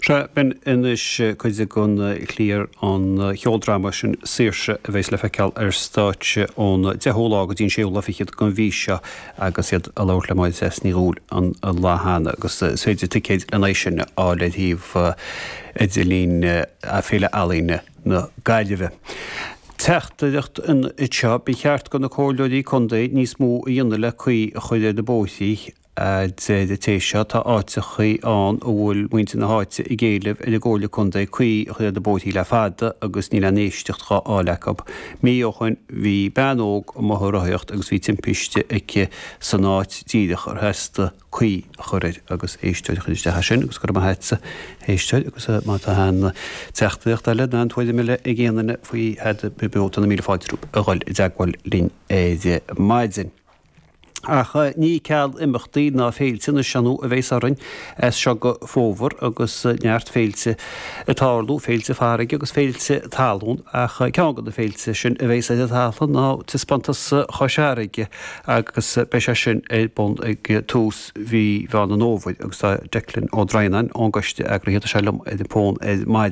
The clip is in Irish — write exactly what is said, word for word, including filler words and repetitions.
Sea, b'in anois cuid den chliar an cheoldráma sin Saoirse a bheas le feiceáil ar stáitse ón deichiú lá go dtí an séú lá fichead den mhí seo agus iad ag labhairt le Máire Treasa Ní Dhubhghaill an lá cheana agus is féidir ticéid lena aghaidh sin a fháil ar shuíomh idirlín Féile Ealaíne na Gaillimhe. Teachtaireacht anseo, ba cheart do na comhairleoirí contae níos mó a dhéanamh le caoi a chur ar na bóithrí a deir an té seo. Tá áiteachaí ann a bhfuil muintir na háite ag éileamh ar an gComhairle Contae caoi a chur ar na bóithrí le fada agus níl aon éisteacht dhá fháil acu. Mí ó shoin bhí bean óg amuigh ag rothaíocht agus bhí timpiste aici san áit díreach ar theastaigh caoi a chur air agus éisteoir a chuir isteach é sin agus go raibh maith agatsa a éisteoir agus má tá aon teachtaireacht eile nó aon tuairim eile ag aon duine faoi Thada Beo tá na míle fáilte rompu a dhul i dteagmháil linn ar maidin. Ach ní ceal imeachtaí ná féilte anois ar ndóigh a bheas orainn as seo go fómhar agus neart féilte ag tarlú, féilte farraige agus féilte talún, ach ceann de na féilte sin a bheas ar an talamh ná Taispeántas Chois Fharraige agus beidh sé sin ar bun ag tús mhí Mheán an Fhómhair agus tá Declan Ó Droighneáin ón gcoiste eagraithe, tá sé liom ar an bhfón ar maidin.